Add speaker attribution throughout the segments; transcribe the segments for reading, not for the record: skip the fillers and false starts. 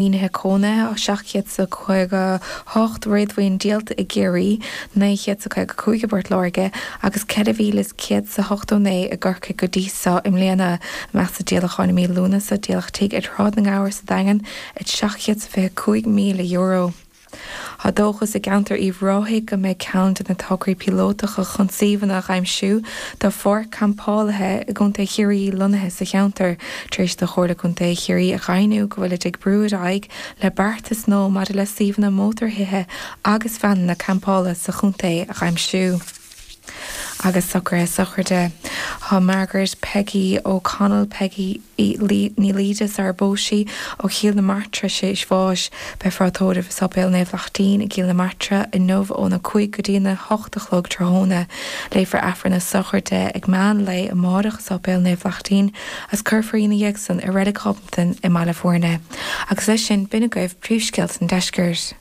Speaker 1: Maoinithe cónaithe, 758 réadmhaoin díolta i gCiarraí, 955 i bPort Láirge agus 4,189 i gCorcaigh go dtí so i mbliana. I measc na díolacháin i mí Lúnasa, díoladh tigh ar Shráid na nGabhar sa Daingean at €725,000. Tá dóchas i gceantar Uíbh Ráthaigh go mbeidh ceann de na tograí píolótacha chun suíomhanna a aimsiú do pháirc campálaithe i gContae Chiarraí lonnaithe sa cheantar, tar éis do Chomhairle Contae Chiarraí a dheimhniú go bhfuilid ag brú ar aghaidh le beartas nua maidir le suíomhanna mótarthithe agus veaineanna campála sa chontae a aimsiú. Agus socruithe sochraide. Tá Margaret Peggy O'Connell, Peggy Ní Laoide sar ar phós sí, ó Chill na Martra tar éis bháis. Beifear á tórramh i Sáipéal Naomh Lachtaín i gCill na Martra inniu óna 5 go dtí ana 8 a chlog tráthnóna. Léifear Aifreann na sochraide ag meán lae amárach i Sáipéal Naomh Lachtaín agus cuirfear í ina dhiaidh san i Reilig Ghobnatan i mBaile Bhuirne. Agus leis sin, b'in agaibh príomhscéalta an deiscirt.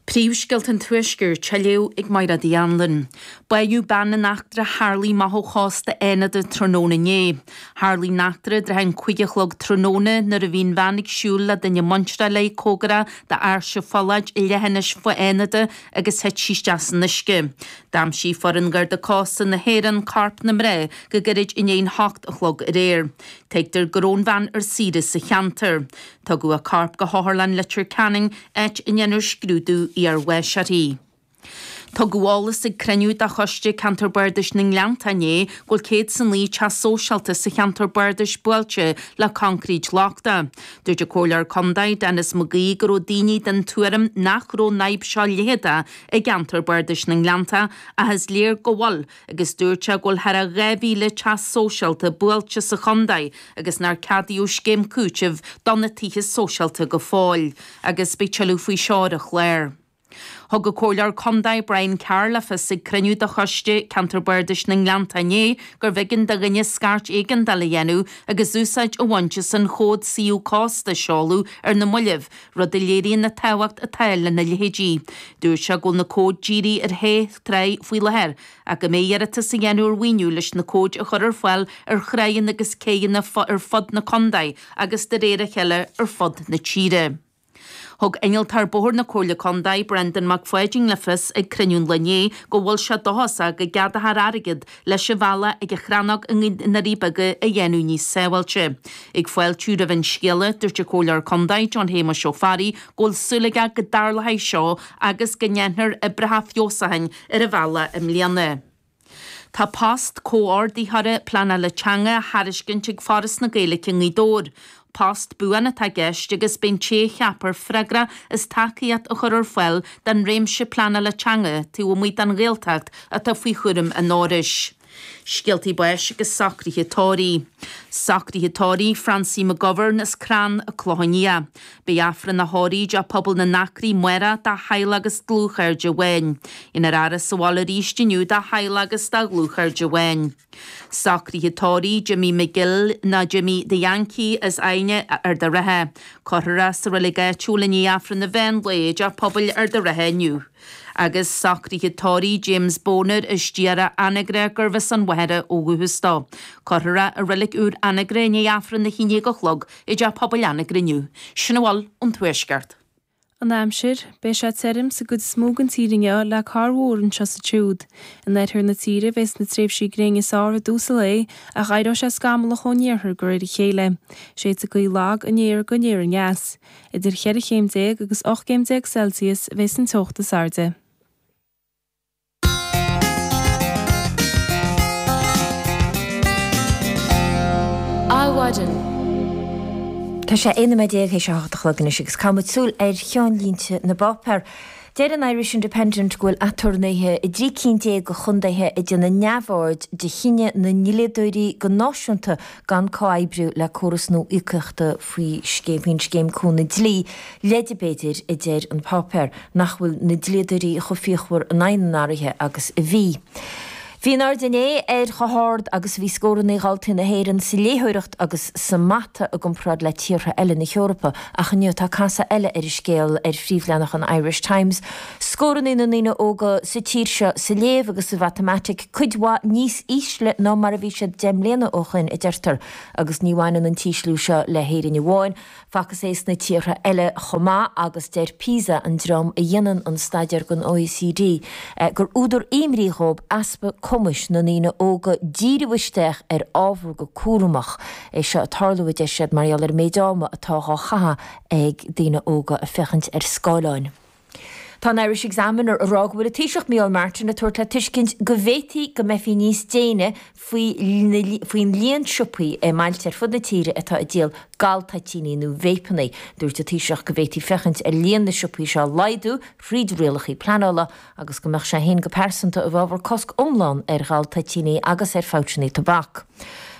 Speaker 2: Príomhscéalta an Tuaiscirt á léamh ag Mairéad Uí Anluain. Báitheadh bean in eachtra a tharlaigh amach ó chósta Fhánada tráthnóna inné. Tharlaigh an eachtra i dtrátha an 5 a chlog tráthnóna nuair a bhí an bhean ag siúl le duine muinteartha léi cóngarach d'Áirse Pholláid i leithinis Fhánada agus thit sí isteach san uisce. D'aimsigh foireann Gharda Cósta na hÉireann corp na mná go gairid i ndiaidh an hocht a chlog aréir. Tuigtear go raibh an bhean ar saoire sa cheantar. Tugadh a corp go hOtharlann Leitir Ceanainn, áit a ndéanfar scrúdú iarbháis uirthi. Tugadh eolas ag cruinniú de Choiste Ceantar Bardais na nGleannta inné go bhfuil 109 teach sóisialta sa cheantar bardais buailte le coincréit lochtach. Dúirt an Comhairleoir Contae, Denis McGee go raibh daoine den tuairim nach raibh an fhadhb seo leitheadach i gceantar bardais na nGleannta ach is léir go bhfuil agus dúirt sé go bhfuil thar a 2,000 teach sóisialta buailte sa chontae agus nár ceadaíodh scéim cúitimh do na tithe sóisialta go fóill agus beidh tuilleadh faoi seo ar an chlár. Thug an Comhairleoir Contae Brian Carr le fios ag cruinniú de Choiste Ceantar Bardais na nGleannta inné gurbh éigean do dhuine scairt éigeandála a dhéanamh agus úsáid a bhaint as an chód suíomh cósta a seoladh ar na mallaibh, rud a léiríonn an tábhacht atá lena leithéidí. Dúirt sé go bhfuil na cóid dírithe ar shé thráigh faoi láthair ach go mbeidh iarratas á dhéanamh ar mhaoiniú leis na cóid a chur ar fáil ar thráigheanna agus céidheanna ar fud na contae agus de réir a chéile ar fud na tíre. Thug Innealtóir Bóthair na Comhairle Contae, Brendan Mac Pháidín le fios ag cruinniú an lae inné go bhfuil sé dóchasach go gceadófar airgead leis an bhealach ag an Chrannóg i nDoirí Beaga a dhéanamh níos sábháilte. Ag fáiltiú roimh an scéala, dúirt an Comhairleoir Contae, John Shéamuis Ó Fearraigh, go bhfuil súil aige go dtarlóidh seo agus go ndéanfar oibreacha feabhsúcháin ar an bhealach i mbliana. Tá post comhordaitheora pleanála teanga á thairiscint ag Foras na Gaeilge i nGaoth Dobhair. Post buan atá i gceist agus beidh an té a cheapfar freagrach as tacaíocht a chur ar fáil don réimse pleanála teanga taobh amuigh den Ghaeltacht atá faoi chúram an Fhorais. Scéaltaí báis agus socruithe tórraimh. Socruithe tórraimh Francie McGovern as Crann an Clochán Liath. Beidh Aifreann a thórraimh i dTeach Pobail na nAcraí amárach dá theaghlach agus dlúthchairde amháin. Dhéanfar a fhaire sa bhaile arís inniu dá theaghlach agus dá dhlúthchairde amháin. Socruithe tórraimh Jimmy McGill nó Jimmy the Yankee as Aidhne, Ard a' Rátha. Cuirfear é sa reilig áitiúil i ndiaidh Aifreann an mheán lae i dTeach Pobail Ard a' Rátha inniu. Agus socruithe tórraimh James Boner as Diarra, Anagaire, gurbh as an Mhachaire ó dhúchas dó. Cuirfear é i reilig úr Anagaire i ndiaidh Aifreann a 11 a chlog i dTeach Pobail Anagaire inniu. Sin a bhfuil ón Tuaisceart.
Speaker 3: An aimsir, Beidh sé tirim sa gcuid is mó den tír inniu le corrmhúr anseo is ansiúd. In oirthear na tíre bheas na tréimhsí gréine is fearr i dtús an lae ach éireoidh sé scamallach ón iarthar de réir a chéile. Séidfidh gaoth lag aniar go aniar aneas. Idir cheithre chéim déag agus 18 gcéim Celsius a bheas an teocht is airde.
Speaker 4: Adhmhaidin.
Speaker 5: Tá sé 11 nóiméad théis a hocht a chlog anois agus caithfidh muid súil ar cheannlínte na bpáipéar. Deir an Irish Independent go bhfuil aturnaetha i dtrí cinn déag de chontaetha ag déanamh neamhaird de chinneadh na ndlíodóirí go náisiúnta gan comhoibriú le córas nua íocaíochta faoi faoin scéim cúnamh dlí. Leide b'fhéidir, a deir an páipéar, nach bhfuil na dlíodóirí chomh fíochmhar in aghaidh na n-athruithe agus a bhí. Bhí an-aird inné ar chomh hard agus a bhí scóranna dhaltaí na hÉireann sa léitheoireacht agus sa mata i gcomparáid le tíortha eile na hEorpa ach inniu tá casadh eile ar an scéal ar phríomhleathanach an Irish Times. Scóranna na ndaoine óga sa tír seo sa léamh agus sa mhatamaitic cuid mhaith níos ísle ná mar a bhí siad 10 mbliana ó shoin, a deirtear, agus ní bhaineann an t-ísliú seo le hÉirinn amháin. Facthas é sna tíortha eile chomh maith agus deir PISA, an dream a dhéanann an staidéar don OECD, gur údar imní dhóibh easpa cumais na ndaoine óga díriú isteach ar ábhar go cúramach. É seo ag tarlú, a deir siad, mar gheall ar an méid ama atá dhá chaitheamh ag daoine óga ag féachaint ar scáileáin. Tá an Irish Examiner ag rá go bhfuil an Taoiseach Micheál Martin ag tabhairt le tuiscint go bhféadfaí go mbeifí níos déine faoin líon siopaí i mbailte ar fud na tíre atá ag díol galtoitíní nó véipeanna. Dúirt an Taoiseach go bhféadfaí féachaint ar líon na siopaí seo a laghdú thríd rialacha pleanála agus go mbeadh sé féin go pearsanta i bhfabhar cosc iomlán ar ghaltoitíní agus ar phoucheanna tobac.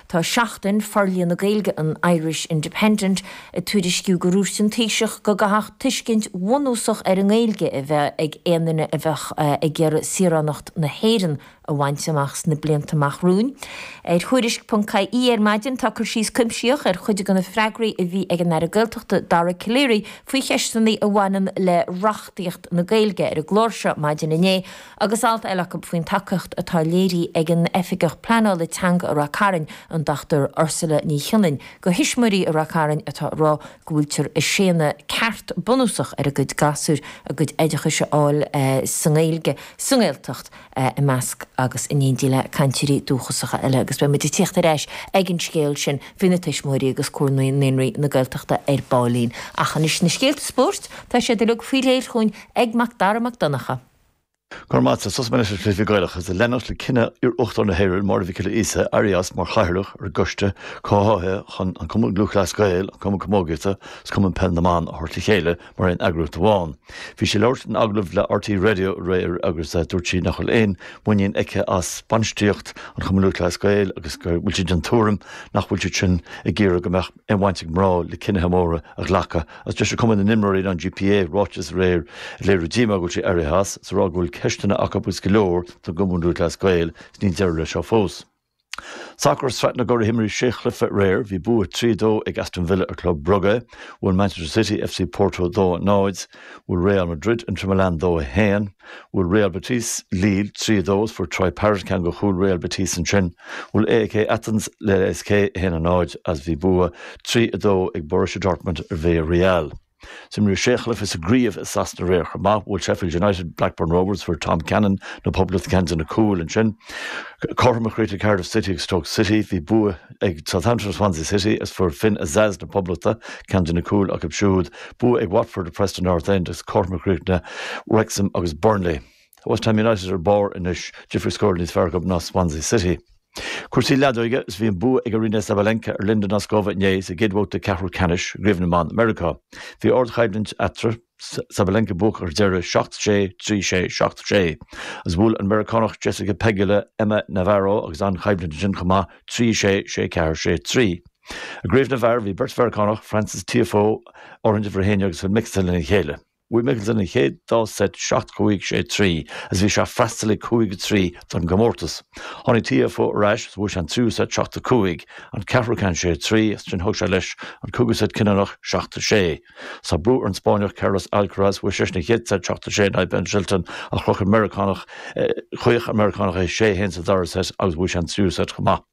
Speaker 5: Tá Seachtain, Forlíonadh Gaeilge an Irish Independent, ag tuairisciú gur dhúirt an Taoiseach go gcaithfeadh tuiscint bhunúsach ar an nGaeilge a bheith ag aon duine a bheadh ag iarraidh saoránacht na hÉireann a bhaint amach sna blianta amach romhainn. Ar Thuairisc.ie ar maidin tá cur síos cuimsitheach ar chuid de na freagraí a bhí ag an Aire Gaeltachta Dara Calleary faoi cheisteanna a bhaineann le reachtaíocht na Gaeilge ar an gclár seo maidin inné Agus alt eile acu faoin tacaíocht atá léirithe ag an Oifigeach Pleanála Teanga i Rath Cairn, an Dr Ursula Ní Chionnain, do thuismitheoirí i Rath Cairn atá ag rá go bhfuiltear ag séanadh ceart bunúsach ar a gcuid gasúir a gcuid oideachais a fháil sa nGaeilge sa nGaeltacht i measc agus in éindí le cainteoirí dúchasacha eile. Agus beidh muid ag tíocht ar ais ag an scéal sin faoi na tuismitheoirí agus Comhar Naíonraí na Gaeltachta ar baillín. Ach anois na scéalta spóirt, tá siad uilig faoi réir chugainn ag Mac Dara Mac Donncha.
Speaker 6: Go raibh maith agat. Tosóidh mé leis na cluichí Gaelacha agus ag leanacht le cinneadh iar-Uachtarán na hÉireann, Máire Mhic Giolla Íosa, éirí as mar chathaoirleach ar an gcoiste comhtháthaithe chun an Cumann Lúthchleas Gael, an Cumann Camógaíochta agus Cumann Peil na mBan a thabhairt le chéile mar aon eagraíocht amháin. Bhí sí ag labhairt in agallamh le RTÉ Radio aréir agus dúirt sí nach bhfuil aon mhuinín aici as bainistíocht an Chumainn Lúthchleas Gael agus go bhfuil sí den tuairim nach bhfuil siad sin ag iarraidh go mbeadh aon bhaint ag mná le cinnithe móra a ghlacadh. Agus d'eisigh Cumann na nImreoirí an GPA ráiteas aréir ag léiriú díomá go bhfuil sí éirithe as, is ag rá go bhfuil ceisteanna acu agus go leor don gCumann Lúthchleas Gael is níl deireadh leis seo fós. Sacar Sraith na gCuradh imríodh sé chluiche aréir. Bhí bua 3, 2 ag Aston Villa ar Club Brugge. Bhuail Manchester City FC Porto 2, 0. Bhuail Real Madrid Inter Milan 2, 1. Bhuail Real Betis Lille 3, 2 is fuair Troy Parrott ceann de chúil Real Betis ansin. Bhuail AEK Athens le LASK 1, 0 agus bhí bua 3, 2 ag Borussia Dortmund ar Villarreal. Imríodh sé chluiche sa gcraobh i Sasana aréir chomh maith. Bhuail Sheffield United Blackburn Rovers, fuair Tom Cannon na Poblachta ceann de na cúil ansin. Cothrom a chríochnaigh Cardiff City agus Stoke City. Bhí bua ag Southampton ar Swansea City agus fuair Finn Azaz na Poblachta ceann de na cúil acu siúd. Bua ag Watford ar Preston North End agus cothrom a chríochnaigh Wrexham agus Burnley. Tá West Ham United ar barr anois, difríocht scóir níos fearr acu ná Swansea City. Cúrsaí leadóige is bhí an bua ag Aryna Sabalenka ar Linda Noskova inné sa gcéad bhabhta ceathrú ceannais i gCraobh na mBan i Meiriceá. Bhí ardchoimhlint eatarthu, Sabalenka buacach ar deireadh, 7, 6, 3, 6, 7, 6. Agus bhuail an Meiriceánach Jessica Pegula Emma Navarro agus an-choimhlint ansin chomh maith, 3, 6, 6, 4, 6, 3. I gcraobh na bhfear bhí beirt Mheiriceánach, Frances Tiafoe, áirithint uimhir a 11 agus Phil Mickelson lena chéile. Bhuaigh Mickelson an chéad dá seit 7, 5, 6, 3 agus bhí sé ag freastal ag 5, 3 don gcomórtas. Tháinig Tiafoe ar ais agus bhuaigh sé an tríú seit 7, 5, an ceathrú ceann 6, 3 agus ansin thug sé leis an cúigiú seit cinniúnach 7, 6. Tá brú ar an Spáinneach Carlos Alcaraz, bhuaigh seisean an chéad seit 7, 6 in aghaidh Ben Shelton ach chroch an Meiriceánach chaoch an Meiriceánach é 6, 1 sa dara seit agus bhuaigh sé an tríú seit chomh maith.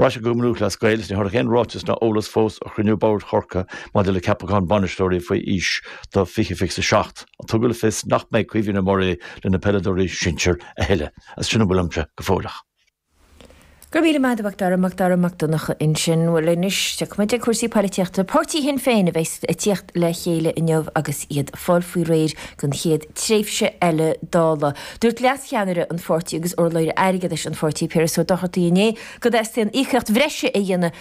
Speaker 6: Ar ais go Cumann Lúthchleas Gael, is níor tháinig aon ráiteas ná eolas fós ó chruinniú boird Chorcaí maidir le ceapachán bainisteoirí faoi aois do 2027. Tugadh le fios nach mbeidh Caoimhín Ó Muirí le na peileadóirí sinsir a thuilleadh. Agus sin a bhfuil uaimse go fóilleach.
Speaker 5: Go raibh míle maith agat a Mhac Dara, Mac Dara Mac Donncha ansin. Bhuel anois, tiocfaidh muid ag cúrsaí poilitíochta. Páirtí Shinn Féin a bheas ag tíocht le chéile inniu agus iad ag fáil faoi réir don chéad tréimhse eile Dála. Dúirt leascheannaire an pháirtí agus urlabhraí airgeadais an pháirtí, Piaras Ó Dochartaigh inné go dteastaíonn íocaíocht bhreise a dhéanamh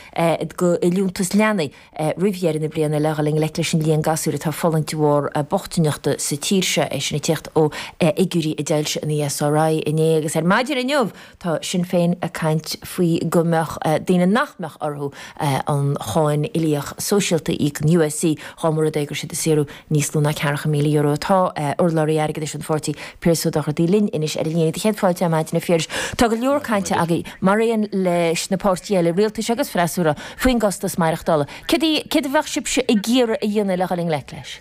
Speaker 5: do liúntas leanaí roimh dheireadh na bliana le dhul i ngleic leis an líon gasúir atá ag fulaingt de bharr bochtaineachta sa tír seo, é sin ag tíocht ó fhigiúirí a d'fhoilsigh an ESRI inné. Agus ar maidin inniu tá Sinn Féin ag caint. faoi go mbeadh daoine nach mbeadh orthu an cháin uilíoch sóisialta a íoc, an USC, dá mba rud é go raibh siad ag saothrú níos lú ná ceathracha €1,000. Tá urlabhraí airgeadais an pháirtí, Piaras Ó Dochartaigh, linn anois ar an líne. Do chéad fáilte ar maidin, a Phiarais. Tá go leor cainte agaibh, mar aon leis na páirtithe eile, rialtais agus freasúra, faoin gcostas maireachtála. Céard a bheadh sibhse ag iarraidh a dhéanamh le dhul i ngleic leis?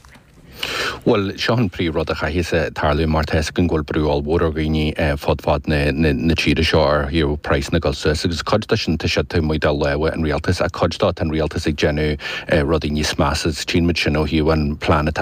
Speaker 7: Bhuel, seo an príomh rud a chaithfeas tarlú mar tá fhios againn go bhfuil brú ollmhór ar dhaoine fud fad na tíre seo ar thaobh praghsanna ag dul suas agus cuid de sin tá sé taobh amuigh de lámha an rialtais ach cuid dó tá an rialtas ag déanamh rudaí níos measa agus tchíonn muid sin ó thaobh an plean atá.